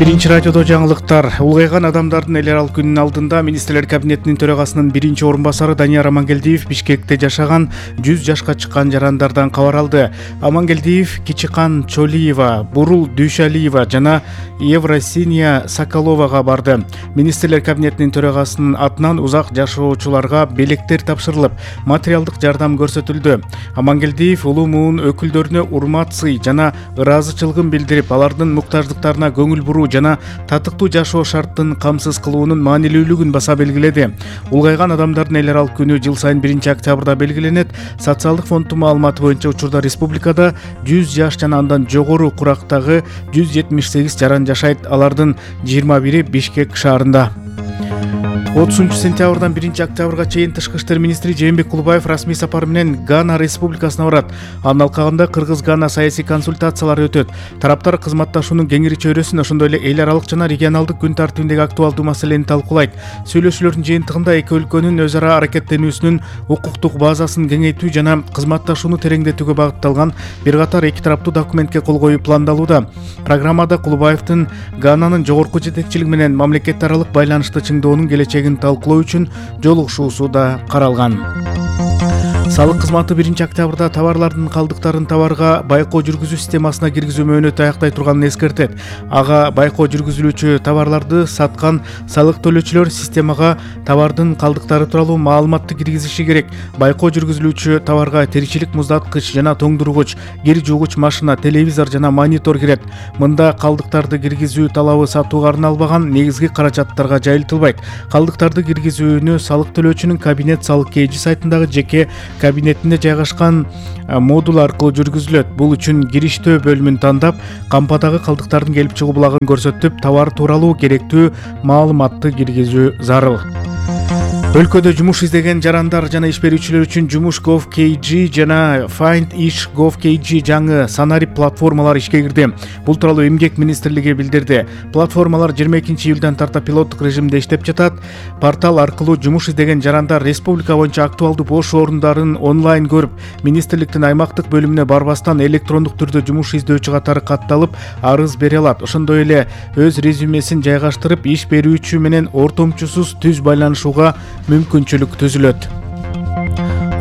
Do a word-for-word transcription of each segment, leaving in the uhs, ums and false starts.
Биринчи радиодо жаңылыктар. Улгайган адамдардын эл аралык күнүнүн алдында министрлер кабинетинин төрагасынын биринчи орун басары Данияр Амангелдиев Бишкекте жашаган жүз жашка чыккан жарандардан кабар алды. Амангелдиев Кичикан Чолиева, Бурул Дүйшалиева жана Евросиния Соколовага барды. Министрлер кабинетинин төрагасынын атынан узак жашоочуларга белектер тапшырылып, материалдык жардам көрсөтүлдү. Амангелдиев улуу муун өкүлдөрүнө урмат сый жана ыраазычылыгын билдирип, алардын муктаждыктарына көңүл буруу жана татыктуу жашоо шарттын камсыз кылуунун маанилүүлүгүн баса белгиледи. Улгайган адамдардын эл аралык күнү жыл сайын биринчи октябрда белгиленет. Социалдык фонддун маалыматы боюнча учурда республикада жүз жаш жана андан жогору курактагы жүз жетимиш сегиз жаран жашайт. Алардын жыйырма бири Бишкек шаарында. отузунчу сентябрдан биринчи октябрга чейин Тышкы иштер министри Жээнбек Кулубаев расмий сапар менен Гана республикасына барат. Анын алкагында Кыргыз-Гана саясий консультациялар өтөт. Тараптар кызматташуунун кеңири чөйрөсүн, ошондой эле эл аралык жана регионалдык күн тартибиндеги актуалдуу маселени талкуулайт. Сүйлөшүүлөрдүн жыйынтыгында эки өлкөнүн өз ара аракеттенүүсүнүн укуктук базасын кеңейтүү жана кызматташууну тереңдетүүгө багытталган бир катар эки тараптуу документке кол коюу пландалууда. Программада Кулубаевдин Гананын жогорку жетекчилиги менен мамлекет аралык байланышты чыңдоонун келечеги талкуулоо үчүн жолугушуусу да каралган. Салык кызматы биринчи октябрда товарлардын калдыктарын товарга байкоо жүргүзүү системасына киргизүү мөөнөтү аяктай турганын эскертет. Ага байкоо жүргүзүлүүчү товарларды саткан салык төлөөчүлөр системага товардын калдыктары тууралуу маалыматты киргизиши керек. Байкоо жүргүзүлүүчү товарга теричилик муздаткыч жана тоңдургуч, кир жуугуч машина, телевизор жана монитор кирет. Мында калдыктарды киргизүү талабы сатууга арналбаган негизги каражаттарга жайылтылбайт. Калдыктарды киргизүүнү салык төлөөчүнүн кабинет салык кээжи сайтындагы жеке кабинетинде жайгашкан модул аркылуу жүргүзүлөт. Бул үчүн кириштөө бөлүмүн тандап, кампадагы калдыктардын келип чыгуу булагын көрсөтүп, товар тууралуу керектүү маалыматты киргизүү зарыл. Өлкөдө жумуш издеген жарандар жана иш берүүчүлөр үчүн Жумуш Gov кей джи жана Find Ish Gov кей джи жаңы санарип платформалар ишке кирди. Бул тууралуу Эмгек министрлиги билдирди. Платформалар жыйырма экинчи июлдан тарта пилоттук режимде иштеп жатат. Портал аркылуу жумуш издеген жарандар республика боюнча актуалдуу бош орундарын онлайн көрүп, министрликтин аймактык бөлүмүнө барбастан электрондук түрдө жумуш издөөчү катары катталып, арыз бере алат. Ошондой эле өз резюмесин жайгаштырып, иш берүүчү менен ортомчусуз түз байланышууга мүмкүнчүлүк түзүлөт.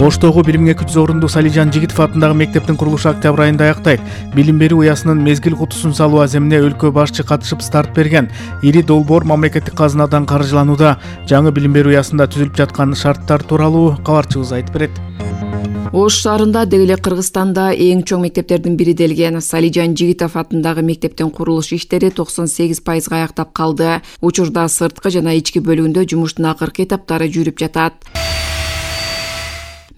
Оштогу бир миң эки жүз орундуу Салижан Жигитов атындагы мектептин курулушу октябрь айында аяктайт. Билим берүү уясынын мезгил кутусун салуу аземине өлкө башчы катышып старт берген. Ири долбоор мамлекеттик казынадан каржыланууда. Жаңы билим берүү уясында түзүлүп жаткан шарттар тууралуу кабарчыбыз айтып берет. Ош шаарында деги эле Кыргызстанда эң чоң мектептердин бири делген Салижан Жигитов атындагы мектептин курулуш иштери токсон сегиз пайызга аяктап калды. Учурда сырткы жана ички бөлүгүндө жумуштун акыркы этаптары жүрүп жатат.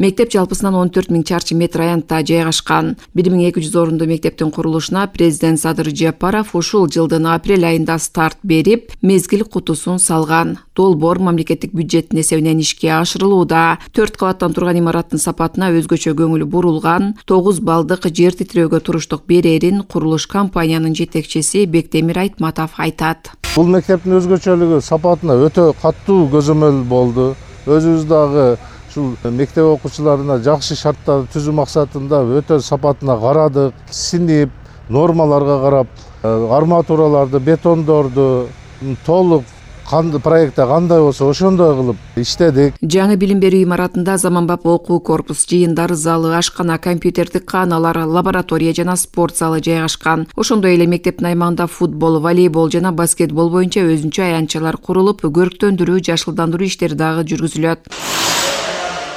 Мектеп жалпысынан он төрт миң чарчы метр аянтта жайгашкан. бир миң эки жүз орундуу мектептин курулушуна президент Садыр Жапаров ушул жылдын апрель айында старт берип, мезгил кутусун салган. Долбоор мамлекеттик бюджеттин эсебинен ишке ашырылууда. төрт кабаттан турган имараттын сапатына өзгөчө көңүл бурулган. тогуз балдык жер титирөөгө туруштук берерин курулуш компаниянын жетекчиси Бектемир Айтматов айтат. Бул мектептин өзгөчөлүгү сапатына өтө каттуу көзөмөл болду. Өзүбүз дагы ушул мектеп окуучуларына жакшы шарттарды түзүү максатында өтө сапатына карадык, синип, нормаларга карап, арматураларды, бетондорду толук проектте кандай болсо ошондой кылып иштедик. Жаңы билим берүү имаратында заманбап окуу корпус, жыйындар залы, ашкана, компьютердик кааналар, лаборатория жана спорт залы жайгашкан. Ошондой эле мектептин аймагында футбол, волейбол жана баскетбол боюнча өзүнчө аянтчалар курулуп, көрктөндүрүү, жашылдандыруу иштери дагы жүргүзүлөт.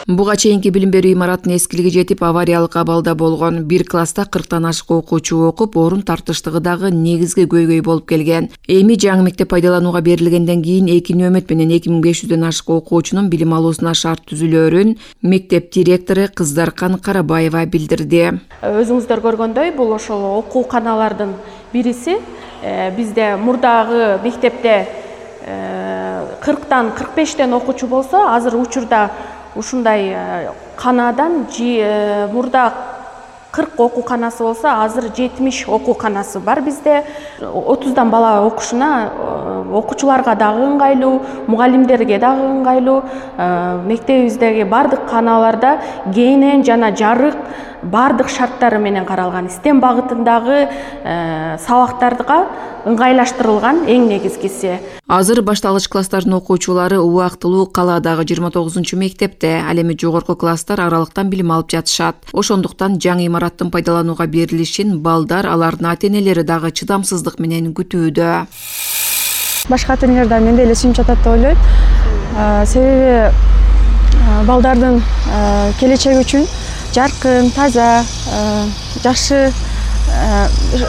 Буга чейинки билим берүү имараттын эскилиги жетип, авариялык абалда болгон. Бир класста кырктан ашык окуучу окуп, орун тартыштыгы дагы негизги көйгөй болуп келген. Эми жаңы мектеп пайдаланууга берилгенден кийин эки нөмөт менен эки миң беш жүздөн ашык окуучунун билим алуусуна шарт түзүлөөрүн мектеп директору Кыздаркан Карабаева билдирди. Өзүңүздөр көргөндөй, бул ошол окууканалардын бириси. Бизде мурдагы мектепте кырктан кырк бештен окуучу болсо, азыр учурда ушундай канадан мурда кырк окууканасы болсо, азыр жетимиш окууканасы бар бизде. отуздан бала окушуна окуучуларга дагы ыңгайлуу, мугалимдерге дагы ыңгайлуу. Мектебибиздеги бардык каналарда кийинен жана жарык бардык шарттары менен каралган. STEM багытындагы сабактарга ыңгайлаштырылган эң негизгиси. Азыр башталгыч класстардын окуучулары убактылуу калаадагы жыйырма тогузунчу мектепте, ал эми жогорку класстар аралыктан билим алып жатышат. Ошондуктан жаңы имараттын пайдаланууга берилишин балдар, алардын ата-энелери дагы чыдамсыздык менен күтүүдө. Башка ата-энелерден менде эле сүйүнүп жатат деп ойлойм. Себеби балдардын келечеги үчүн жаркын, таза, жакшы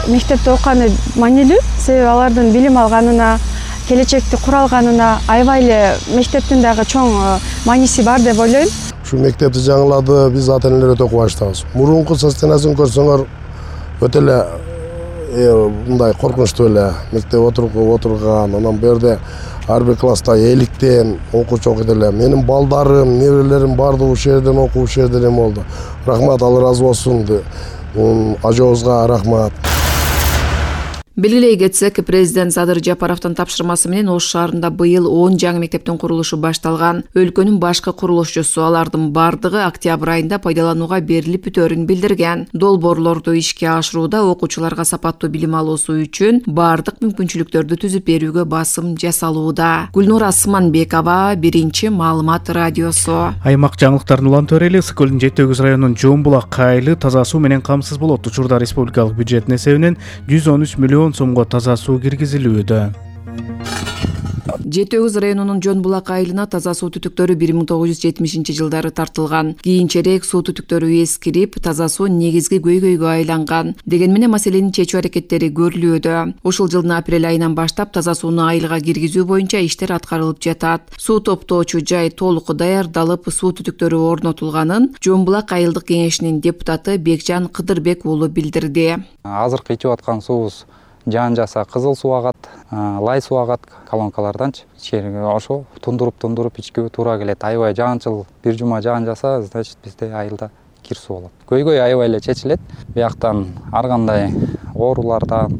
мектепте окуганы маанилүү. Себеби алардын билим алганына, келечекти куралганына аябай эле мектептин дагы чоң мааниси бар деп ойлойм. Ушу мектепти жаңылады, биз ата-энелер өтө кубанычтабыз. Мурунку состояниясын көрсөңөр өтө эле мындай коркунучтуу эле. Мектеп отурган, анан бу жерде ар бир класста эликтен окуучу окуйт эле. Менин балдарым, неберелерим бардыгы ушул жерден окуп, ушул жерден эме болду. Рахмат, ал ыраазы болсун. Ажообузга рахмат. Белгилей кетсек, президент Садыр Жапаровдун тапшырмасы менен Ош шаарында быйыл он жаңы мектептин курулушу башталган. Өлкөнүн башкы курулушчусу алардын бардыгы октябрь айында пайдаланууга берилип бүтөөрүн билдирген. Долбоорлорду ишке ашырууда окуучуларга сапаттуу билим алуусу үчүн бардык мүмкүнчүлүктөрдү түзүп берүүгө басым жасалууда. Гүлнура Асманбекова, Биринчи маалымат радиосу. Аймак жаңылыктарын улан төрели Ысык көлүнүн Жети Өгүз районунун Жон булак айылы таза суу менен камсыз болот. Учурда республикалык бюджеттин эсебинен жүз он үч миллион сомго таза суу киргизилүүдө. Жети Өгүз районунун Жон булак айылына таза суу түтүктөрү бир миң тогуз жүз жетимишинчи жылдары тартылган. Кийинчерээк суу түтүктөрү эскирип, таза суу негизги көйгөйгө айланган. Деген менен маселени чечүү аракеттери көрүлүүдө. Ушул жылдын апрель айынан баштап таза сууну айылга киргизүү боюнча иштер аткарылып жатат. Суу топтоочу жай толук даярдалып, суу түтүктөрү орнотулганын Жон булак айылдык кеңешинин депутаты Бекжан Кыдырбек уулу билдирди. Азыркы ичип аткан суубуз жаан жаса кызыл суу агат, лай суу агат колонкаларданчы. Ичкерге ошо тундуруп-тундуруп ичкүүгө туура келет. Аябай жаанчыл бир жума жаан жаса, значит бизде айылда кир суу болот. Көйгөй аябай эле чечилет. Бияктан ар кандай оорулардан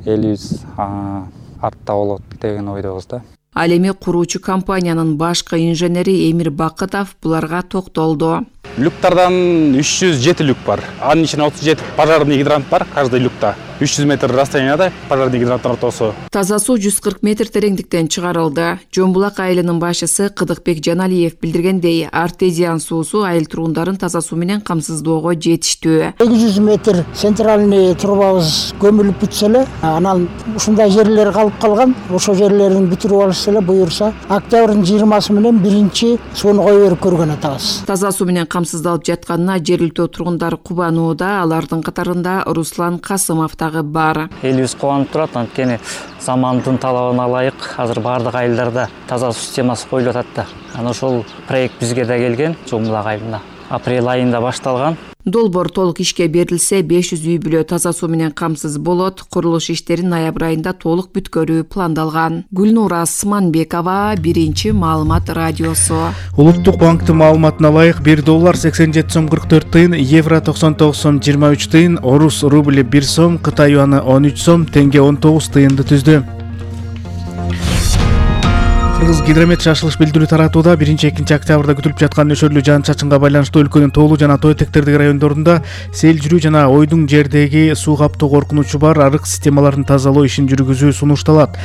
элибиз артта болот деген ойдобуз да. Ал эми куруучу компаниянын башкы инженери Эмир Бакытов буларга токтолду. Люктардан үч жүз жети люк бар. Анын ичинде отуз жети пожарный гидрант бар каждый люкта. үч жүз метр расстоянияда пожарный гидранттар ортосу. Таза суу жүз кырк метр тереңдиктен чыгарылды. Жон булак айылынын башчысы Кыдыкбек Жаналиев билдиргендей, артезиан суусу айыл турундарын таза суу менен камсыздоого жетиштүү. эки жүз метр центральный трубабыз көмүлүп бүтсө эле, анан ушундай жерлер калып калган. Ошо жерлерин бүтүрүп алышса эле, буюрса октябрдын жыйырмасы менен биринчи сууну кое берип көргөн атабыз. Таза суу менен камсыздалып жатканына жергиликтүү тургундар кубанууда, алардын катарында Руслан Касымов дагы бар. Элибиз кубанып турат, анткени замандын талабына ылайык азыр бардык айылдарда таза суу системасы коюлуп атат да. Анан ошол проект бизге да келген, Жон булак айылына. Апрель айында башталган. Долбоор толук ишке берилсе, беш жүз үй бүлө таза суу менен камсыз болот. Курулуш иштерин ноябрь айында толук бүткөрүү пландалган. Гүлнура Асманбекова, Биринчи маалымат радиосу. Улуттук банктын маалыматына ылайык бир доллар сексен жети сом кырк төрт тыйын, евро токсон тогуз сом жыйырма үч тыйын, орус рубли бир сом, Кытай юаны он үч сом, теңге он тогуз тыйынды түздү. Кыргыз гидромет шашылыш билдирүү таратууда биринчи-экинчи октябрда күтүлүп жаткан нөшөрлүү жаан-чачынга байланыштуу өлкөнүн тоолуу жана тоо этектердеги райондорунда сел жүрүү жана ойдуң жердеги суу каптоо коркунучу бар, арык системаларын тазалоо ишин жүргүзүү сунушталат.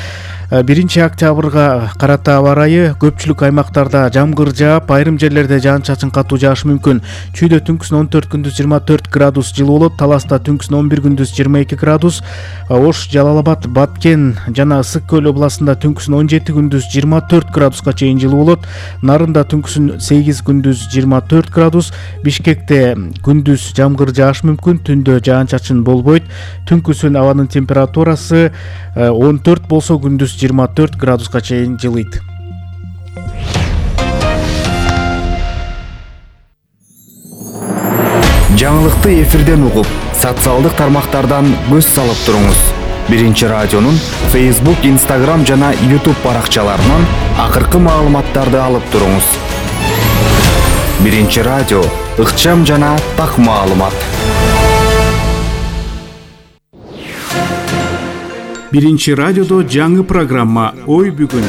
биринчи октябрга карата аба ырайы көпчүлүк аймактарда жамгыр жаап, айрым жерлерде жаан-чачын катуу жаашы мүмкүн. Чүйдө түнкүсүн он төрт күндүз жыйырма төрт градус жылуу болот, Таласта түнкүсүн он бир күндүз жыйырма эки градус, Ош, Жалал-Абад, Баткен жана Ысык көл областында түнкүсүн он жети күндүз жыйырма төрт градуска чейин жылуу болот. Нарында түнкүсүн сегиз күндүз жыйырма төрт градус, Бишкекте күндүз жамгыр жаашы мүмкүн, түндө жаан-чачын болбойт. Түнкүсүн абанын температурасы он төрт болсо, күндүз жыйырма төрт градуска чейин жылыйт. Жаңылыкты эфирден угуп, социалдык тармактардан көз салып туруңуз. Биринчи радионун Facebook, Instagram жана YouTube баракчаларынан акыркы маалыматтарды алып туруңуз. Биринчи радио, ыкчам жана так маалымат. Биринчи радиодо жаңы программа «Ой бүгүн».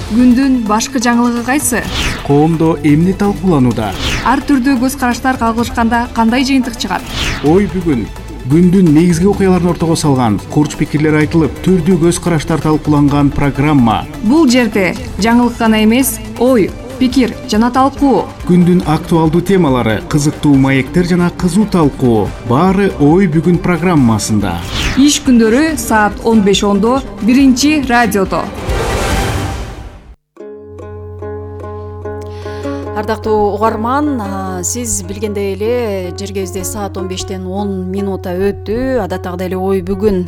Күндүн башкы жаңылыгы кайсы? Коомдо эмне талкууланууда? Ар түрдүү көз караштар кагылышканда кандай жыйынтык чыгат? Ой бүгүн. Күндүн негизги окуяларын ортого салган, курч пикирлер айтылып, түрдүү көз караштар талкууланган программа. Бул жерде жаңылык гана эмес, ой, пикир жана талкуу. Күндүн актуалдуу темалары, кызыктуу маектер жана кызуу талкуу. Баары Ой бүгүн программасында. Иш күндөрү саат он беш ондо биринчи радиодо. Ардактуу угарман, сиз билгендей эле жер кезде саат он бештен он минута өттү. Адаттагыдай эле Ой бүгүн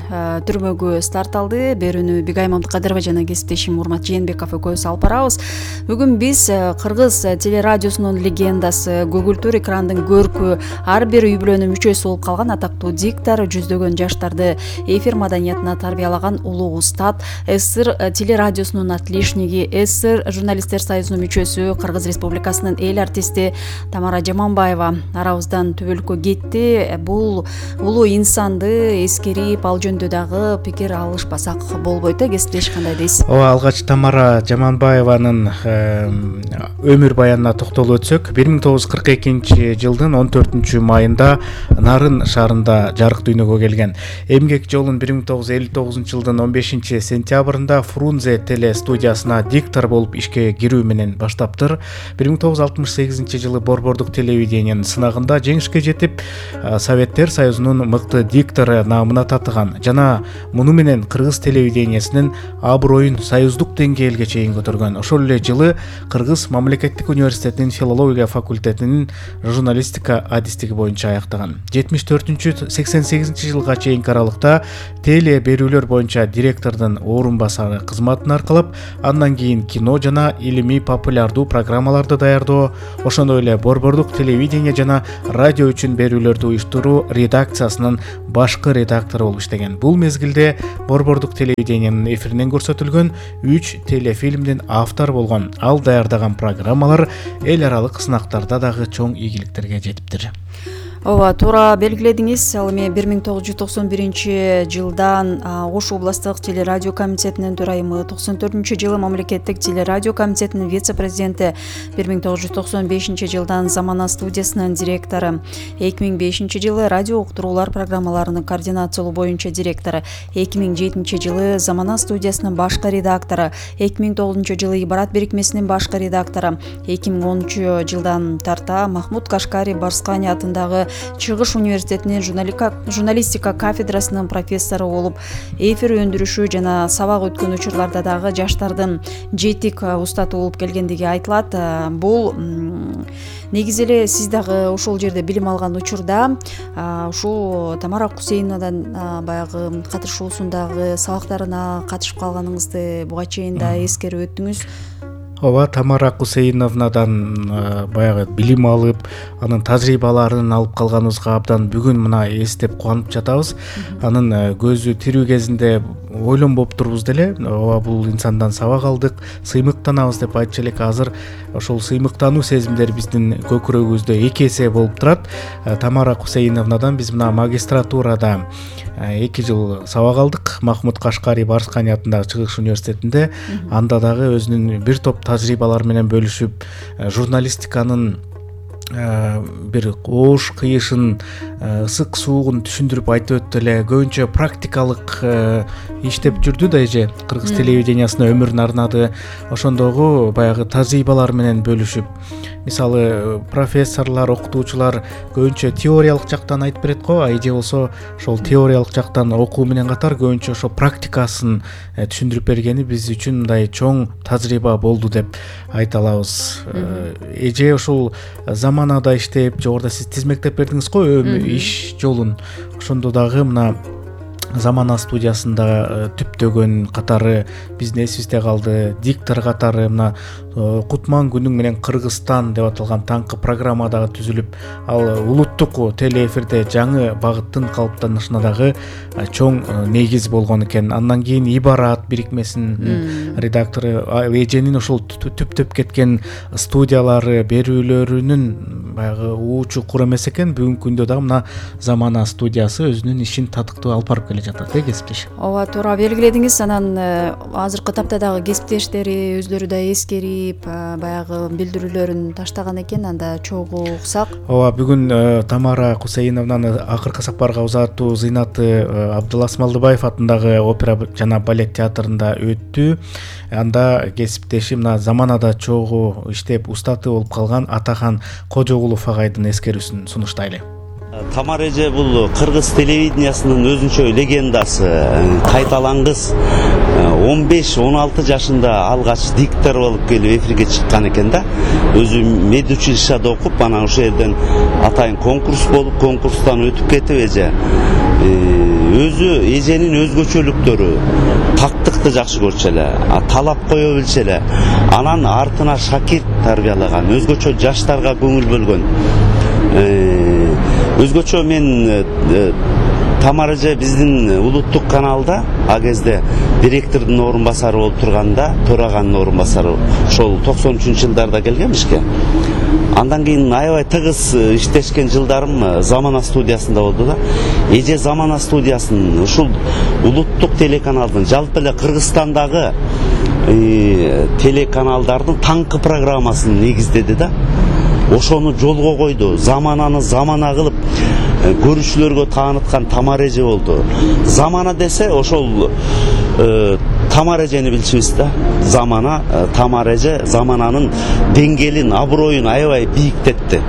түрмөгү старт алды. Берүүнү Бигай Мамдыкадырова жана кесиптешим Урмат Жээнбеков экөөбүз алып барабыз. Бүгүн биз Кыргыз телерадиосунун легендасы, көгүлтүр экрандын көркү, ар бир үй бүлөнүн мүчөсү болуп калган атактуу диктор, жүздөгөн жаштарды эфир маданиятына тарбиялаган улуу устат, СССР телерадиосунун отличниги, СССР журналисттер союзунун мүчөсү, Кыргыз Республикасы эл артисти Тамара Жаманбаева арабыздан түбөлүккө кетти. Бул улуу инсанды эскерип, ал жөнүндө дагы пикир алышпасак болбойт. Кесиптеш кандай дейсиз? Ооба, алгач Тамара Жаманбаеванын өмүр баянына токтолуп өтсөк, бир миң тогуз жүз кырк экинчи жылдын он төртүнчү майында Нарын шаарында жарык дүйнөгө келген. Эмгек жолун бир миң тогуз жүз элүү тогузунчу жылдын он бешинчи сентябрында Фрунзе теле студиясына диктор болуп ишке кирүү менен баштаптыр. бир миң тогуз жүз алтымыш сегизинчи жылы Борбордук телевидениянын сынагында жеңишке жетип, Советтер Союзунун мыкты диктору наамына татыган жана муну менен Кыргыз телевидениясынын аброюн союздук деңгээлге чейин көтөргөн. Ошол эле жылы Кыргыз мамлекеттик университетинин филология факультетинин журналистика адистиги боюнча аяктаган. жетимиш төртүнчү сексен сегизинчи жылга чейинки аралыкта теле берүүлөр боюнча директордун орун басары кызматын аркалап, андан кийин кино жана илимий популярдуу программаларды даярдоо, ошондой эле Борбордук телевидение жана радио үчүн берүүлөрдү уюштуруу редакциясынын башкы редактору болуп иштеген. Бул мезгилде Борбордук телевидениянын эфиринен көрсөтүлгөн үч телефильмдин автору болгон. Ал даярдаган программалар эл аралык сынактарда дагы чоң ийгиликтерге жетиптир. Ооба, туура белгиледиңиз. Ал эми бир миң тогуз жүз токсон биринчи жылдан Ош областык телерадио комитетинин төрайымы, токсон төртүнчү жылы мамлекеттик телерадио комитетинин вице-президенти, бир миң тогуз жүз токсон бешинчи жылдан Замана студиясынын директору, эки миң бешинчи жылы радио уктуруулар программаларынын координациялоо боюнча директору, эки миң жетинчи жылы Замана студиясынын башкы редактору, эки миң тогузунчу жылы Ибарат бирикмесинин башкы редактору, эки миң онунчу жылдан тарта Махмуд Кашкари Барскани атындагы Чыгыш университетинин журналистика кафедрасынын профессору болуп, эфир өндүрүшү жана сабак өткөн учурларда дагы жаштардын жетик устаты болуп келгендиги айтылат. Бул негизи эле сиз дагы ошол жерде билим алган учурда ушул Тамара Кусейновадан баягы катышуусундагы сабактарына катышып калганыңызды буга чейин да эскерип өттүңүз. Ооба, Тамара Кусейновнадан баягы билим алып, анын тажрыйбаларын алып калганыбызга абдан бүгүн мына эстеп кубанып жатабыз. Анын көзү тирүү кезинде ойлонбоп турбуз деле. Ооба, бул инсандан сабак алдык, сыймыктанабыз деп айтчу элек. Азыр ошол сыймыктануу сезимдери биздин көкүрөгүбүздө эки эсе болуп турат. Тамара Кусейновнадан биз мына магистратурада эки жыл сабак алдык. Махмуд Кашкари Барскани атындагы Чыгыш университетинде. Анда дагы өзүнүн бир топ тажрыйбалары менен бөлүшүп, журналистиканын бир коош кыйышын, ысык суугун түшүндүрүп айтып өттү эле. Көбүнчө практикалык иштеп жүрдү да эже. Кыргыз телевидениясына өмүрүн арнады. Ошондогу баягы тажрыйбалар менен бөлүшүп, мисалы профессорлор, окутуучулар көбүнчө теориялык жактан айтып берет го, а эже болсо ошол теориялык жактан окуу менен катар көбүнчө ошо практикасын түшүндүрүп бергени биз үчүн мындай чоң тажрыйба болду деп айта алабыз. Эже ушул Заманада иштеп, жогоруда сиз тизмектеп бердиңиз го иш жолун. Ошондо дагы мына Замана студиясында түптөгөн катары биздин эсибизде калды. Диктор катары мына Кутман күнүң менен Кыргызстан деп аталган таңкы программа дагы түзүлүп, ал улуттук телеэфирде жаңы багыттын калыптанышына дагы чоң негиз болгон экен. Андан кийин Ибарат бирикмесинин редактору эженин ошол түптөп кеткен студиялары берүүлөрүнүн баягы уучу кур эмес экен. Бүгүнкү күндө дагы мына Замана студиясы өзүнүн ишин татыктуу алып барып келе жатат э кесиптеш. ооба, туура белгиледиңиз. Анан азыркы тапта дагы кесиптештери өзлөрү да эскерип баягы билдирүүлөрүн таштаган экен. Анда чогуу уксак. Ооба, бүгүн Тамара Кусейновнаны акыркы сапарга узатуу зыйнаты Абдулас Малдыбаев атындагы опера жана балет театрында өттү. Анда кесиптеши мына Заманада чогуу иштеп устаты болуп калган Атахан Кожогулов агайдын эскерүүсүн сунуштайлы. Тамара эже бул кыргыз телевидениясынын өзүнчө легендасы, кайталангыс. он беш он алты жашында алгач диктор болуп келип эфирге чыккан экен да. Өзү медучилищада окуп, анан ошол жерден атайын конкурс болуп, конкурстан өтүп кетип эже. Өзү эженин өзгөчөлүктөрү, тактыкты жакшы көрчү эле, талап кое билчү эле. Анан артына шакирт тарбиялаган, өзгөчө жаштарга көңүл бөлгөн. Өзгөчө мен Тамара эже биздин улуттук каналда а кезде директордун орун басары болуп турганда, Тораганын орун басары, ошол токсон үчүнчү жылдарда келгем ишке. Андан кийин аябай тыгыз иштешкен жылдарым Замана студиясында болду да. Эже Замана студиясын ушул улуттук телеканалдын, жалпы эле Кыргызстандагы телеканалдардын таңкы программасын негиздеди да. Ошону жолго койду. Замананы замана кылып көрүүчүлөргө тааныткан Тамара эже болду. Замана десе ошол Тамара эжени билчүбүз да. Замана, Тамара эже Замананын деңгээлин, аброюн аябай бийиктетти.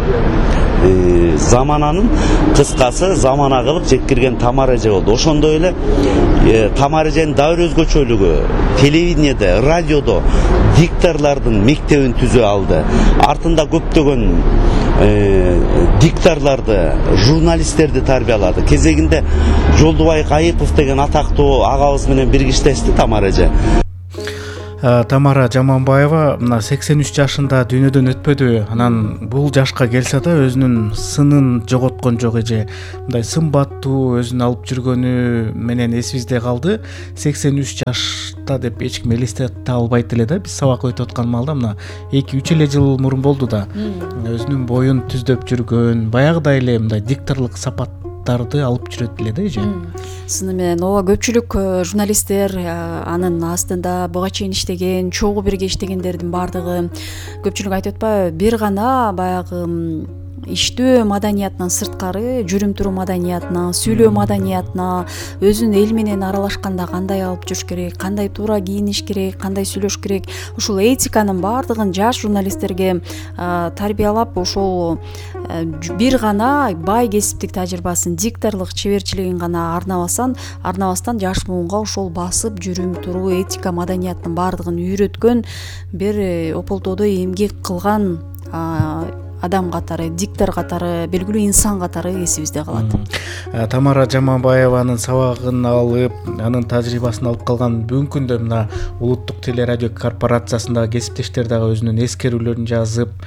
Замананын кыскасы Замана кылып жеткирген Тамара эже болду. Ошондой эле Тамара эженин дагы бир өзгөчөлүгү телевидениеде, радиодо дикторлордун мектебин түзө алды. Артында көптөгөн дикторлорду, журналисттерди тарбиялады. Кезегинде Жолдубай Айыпов деген атактуу агабыз менен бирге иштешти Тамара эже. Тамара Жаманбаева мына сексен үч жашында дүйнөдөн өтпөдү. Анан бул жашка келсе да өзүнүн сынын жоготкон жок эже. Мындай сымбаттуу өзүн алып жүргөнү менен эсибизде калды. сексен үч жашта деп эч ким элестете албайт эле да. Биз сабак өтүп аткан маалда мына эки үч эле жыл мурун болду да. Өзүнүн боюн түздөп жүргөн, баягыдай эле мындай дикторлук сапаттарды алып жүрөт эле да эже. Сыны менен ооба, көпчүлүк журналисттер анын астында буга чейин иштеген, чогуу бирге иштегендердин баардыгы көпчүлүк айтып атпайбы, бир гана баягы иштөө маданиятынан сырткары жүрүм туруу маданиятына, сүйлөө маданиятына, өзүн эл менен аралашканда кандай алып жүрүш керек, кандай туура кийиниш керек, кандай сүйлөш керек, ушул этиканын баардыгын жаш журналисттерге тарбиялап, ошол бир гана бай кесиптик тажрыйбасын, дикторлук чеберчилигин гана арнабасан, арнабастан жаш буунга ошол басып жүрүм туруу этика маданиятынын баардыгын үйрөткөн, бир ополтоодо эмгек кылган адам катары, диктор катары, белгилүү инсан катары эсибизде калат. Тамара Жаманбаеванын сабагын алып, анын тажрыйбасын алып калган бүгүнкү күндө мына улуттук телерадио корпорациясындагы кесиптештер дагы өзүнүн эскерүүлөрүн жазып,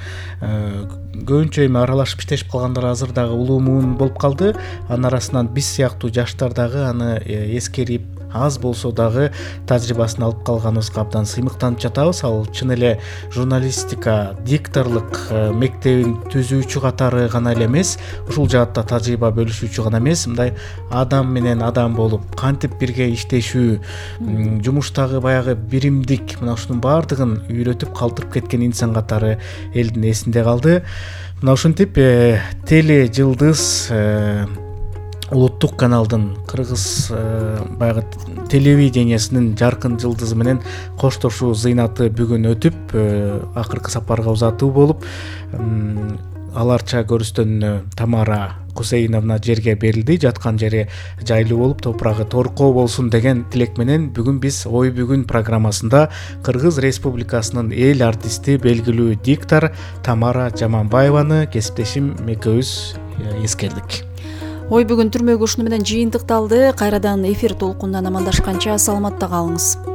көбүнчө эми аралашып иштешип калгандар азыр дагы улуу муун болуп калды. Анын арасынан биз сыяктуу жаштар дагы аны эскерип, аз болсо дагы тажрыйбасын алып калганыбызга абдан сыймыктанып жатабыз. Ал чын эле журналистика, дикторлук мектебин түзүүчү катары гана эле эмес, ушул жаатта тажрыйба бөлүшүүчү гана эмес, мындай адам менен адам болуп, кантип бирге иштешүү, жумуштагы баягы биримдик, мына ушунун баардыгын үйрөтүп калтырып кеткен инсан катары элдин эсинде калды. Мына ушинтип теле жылдыз улуттук каналдын кыргыз баягы телевидениясынын жаркын жылдызы менен коштошуу зыйнаты бүгүн өтүп, акыркы сапарга узатуу болуп, аларча көрүстөн Тамара Кусейновна жерге берилди. Жаткан жери жайлуу болуп, топурагы торкоо болсун деген тилек менен бүгүн биз Ой бүгүн программасында Кыргыз Республикасынын эл артисти, белгилүү диктор Тамара Жаманбаеваны кесиптешим экөөбүз эскердик. Ой бүгүн түрмөгү ушуну менен жыйынтыкталды. Кайрадан эфир толкунунан амандашканча саламатта калыңыз.